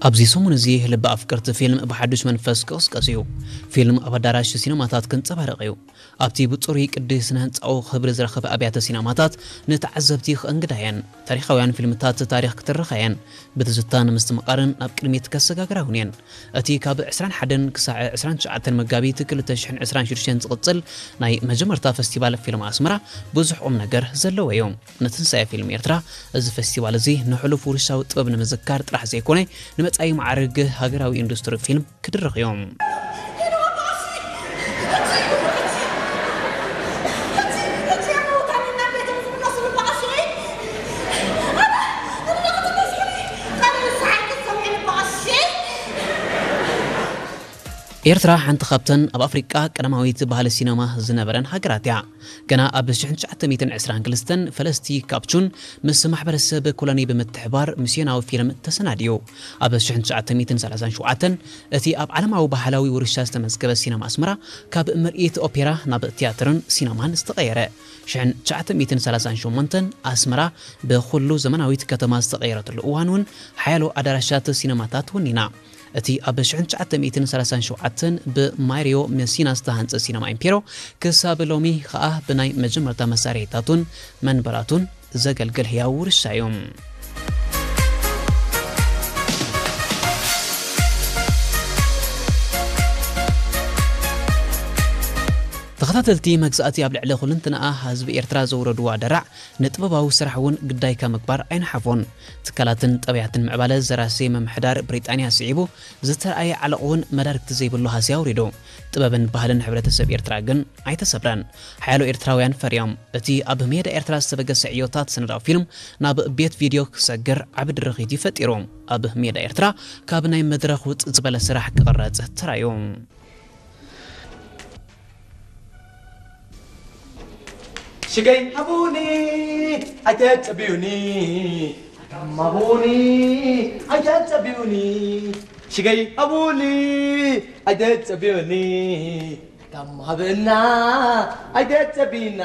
ኣብዚ ሰሙን እዚ ልቢ ኣፍቀርቲ ፊልም ብሓዱሽ መንፈስ ክቕስቀስ እዩ። ፊልም ኣብ ኣዳራሽ ሲነማታት ክንጸባረቕ እዩ። ኣብቲ ብጽሩይ ቅዲ ስነ ህንጻኡ ክብሪ ዝረኸበ ኣብያተ ሲነማታት ንተዓዘብቲ ክእንግዳ እየን። ታሪኻውያን ፊልምታት ታሪኽ ክትርኻ እየን። ብትዝታ ንምስትምቓርን ናብ ቅድሚት ከሰጋግራ እውን እየን። እቲ ካብ ዕስራን ሓደን ክሳዕ ዕስራን ትሽዓተን መጋቢት ክልተ ሽሕን ዕስራን ሽዱሽተን ዝቕጽል ናይ መጀመርታ ፈስቲቫል ፊልም ኣስመራ ብዙሕ ቁም ነገር ዘለዎ እዩ። ንትንሳኤ ፊልም ኤርትራ፣ እዚ ፈስቲቫል እዚ ንሕሉፍ ውርሻዊ ጥበብ ንምዝካር ጥራሕ ዘይኮነ፣ ንመጻኢ ማዕርግ ሃገራዊ ኢንዱስትሪ ፊልም ክድርኽ እዩ። ኤርትራ ሓንቲ ካብተን ኣብ ኣፍሪቃ ቀዳማዊት ባህሊ ሲነማ ዝነበረን ሃገራት እያ። ገና ኣብ ሽሕን ትሽዓተ ሚእትን ዕስራን ክልተን ፈለስቲ ካፕቹን ምስ ማሕበረሰብ ኮሎኒ ብምትሕባር ሚስዮናዊ ፊልም ተሰናድዩ። ኣብ ሽሕን ትሽዓተ ሚእትን ሰላሳን ሸውዓተን እቲ ኣብ ዓለማዊ ባህላዊ ውርሻ ዝተመዝገበ ሲነማ ኣስመራ ካብ ምርኢት ኦፔራ ናብ ቲያትርን ሲነማን ዝተቐየረ። ሽሕን ትሽዓተ ሚእትን ሰላሳን ሸሞንተን ኣስመራ ብኹሉ ዘመናዊት ከተማ ዝተቐየረትሉ እዋን እውን ሓያሎ ኣዳራሻት ሲነማታት ወኒና። እቲ ኣብ ሽሕን ትሽዓተ ሚእትን ሰላሳን ሸውዓተን ብማሪዮ መሲና ዝተሃንጸ ሲነማ ኢምፔሮ ክሳብ ሎሚ ኸኣ ብናይ መጀመርታ መሳርሒታቱን መንበራቱን ዘገልግል ህያው ውርሻ እዩ። ተኸታተልቲ መግዛእቲ ኣብ ልዕሊ ኩልንትናኣ ህዝቢ ኤርትራ ዘውረድዋ ደራዕ ንጥበባዊ ስራሕ እውን ግዳይካ ምግባር ኣይነሓፎን። ትካላትን ጠበያትን ምዕባለ ዘራሲ ምምሕዳር ብሪጣንያ ስዒቡ ዝተረኣየ ዓለቕ እውን መዳርግቲ ዘይብሉ ሃስያ ኣውሪዱ። ጥበብን ባህልን ሕብረተሰብ ኤርትራ ግን ኣይተሰብረን። ሓያሎ ኤርትራውያን ፈርዮም። እቲ ኣብ ሜዳ ኤርትራ ዝተበገሰ ዕዮታት ስነዳዊ ፊልም ናብ ቤት ቪድዮ ክሰግር ዓቢ ድርኺት እዩ ፈጢሩ። ኣብ ሜዳ ኤርትራ ካብ ናይ መድረኽ ውጽእ ዝበለ ስራሕ ክቕረጽ ተራእዩ። ሽገይ ሃቡኒ ኣይተጸብዩኒ፣ ኣጋማቡኒ ኣይተጸብዩኒ። ሽገይ ሃቡኒ ኣይተጸብዩኒ፣ ኣጋማብና ኣይተጸብዩና።